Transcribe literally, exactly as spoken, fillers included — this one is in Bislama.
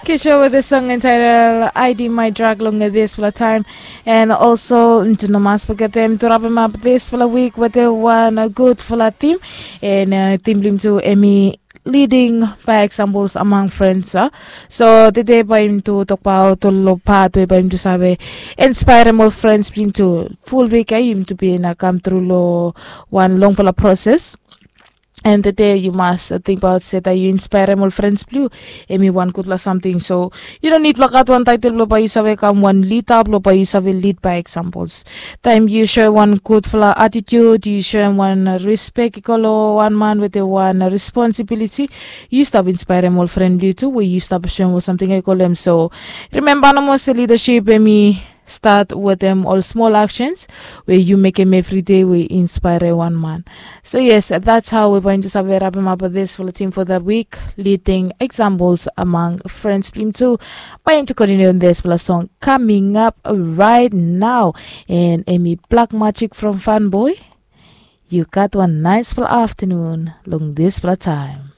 Kisho with the song entitled I D My Drug long this for the time. And also, to no mas forget them to wrap him up this for the week with the one a good for the team. And uh, team blim to Emmy leading by examples among friends. Uh. So the day by him to talk about to lo part way by him to save inspire more friends blim to full week. Uh, him to be in a come through lo one long for the process. And today you must think about se that you inspire ol friends blue. Emi one good la something. So you don't need black out one title blow by you save come one lead up blow by you save lead by examples. Time you show one good fla attitude, you show one respect ikolo one man with a one responsibility. You stop inspire ol friend blue too, where you stop showing something I call them. So remember no more se leadership emi start with them all small actions where you make him every day we inspire one man. So yes, that's how we're going to save wrap him up with this for the team for the week, leading examples among friends blim too. By him to continue on this for the song coming up right now. And Amy Black Magic from Fanboy, you got one nice for afternoon long this for the time.